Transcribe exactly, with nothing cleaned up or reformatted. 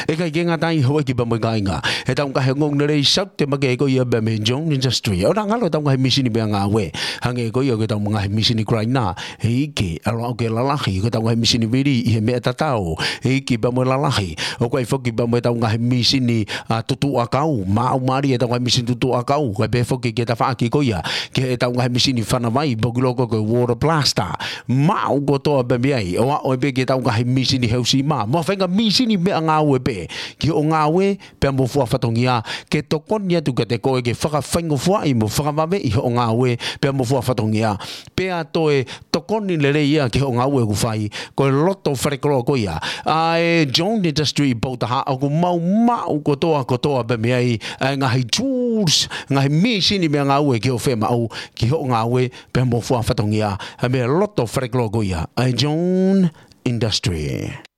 ʻIkai ke ngata ai, houʻeiki pea mo e kāinga, ʻetau ngaahi ongoongolelei Saute makehe ko ia pea mei he Jones Industry, ʻoku ngalo ʻetau ngaahi mīsini meʻangāue. Hangē ko ia ko ʻetau ngaahi mīsini grinder, ʻEiki, ʻalu ʻo ke lalahi, ko ʻetau ngaahi mīsini vili ʻi he meʻa tatau, ʻEiki, pea mo e lalahi. ʻOku ʻi ai foki pea mo ʻetau ngaahi mīsini, ʻa, tutuʻa kau, maʻu mālie ʻetau ngaahi mīsini tutuʻa kau, kae pehē foki ki he tafaʻaki ko ia, ki heʻetau ngaahi mīsini fana vai, pea ʻoku ui loko ko e water blaster. Maʻu kotoa pē mei ai, ʻo aʻu pē ki heʻetau ngaahi mīsini heusi mā, mo e faʻahinga mīsini meʻangāue pē, ki hoʻo ngāue, pea mo fua fatongia, ke tokoni atu kiate koe ke fakafaingofuaʻi mo fakavaveʻi hoʻo ngāue, pea mo fua fatongia. Pea toe tokoni lelei ia ki hoʻo ngāue ʻoku fai, ko e loto falekoloa ko ia ʻa e Jones Industry ʻi Poutaha, ʻoku mau maʻu kotoa kotoa pē mei ai ʻa e ngaahi tools, ngaahi mīsini meʻangāue ki hoʻo fiemaʻu, ki hoʻo ngāue, pea mo fua fatongia. ʻA e meʻa loto falekoloa ko ia ʻa e Jones Industry.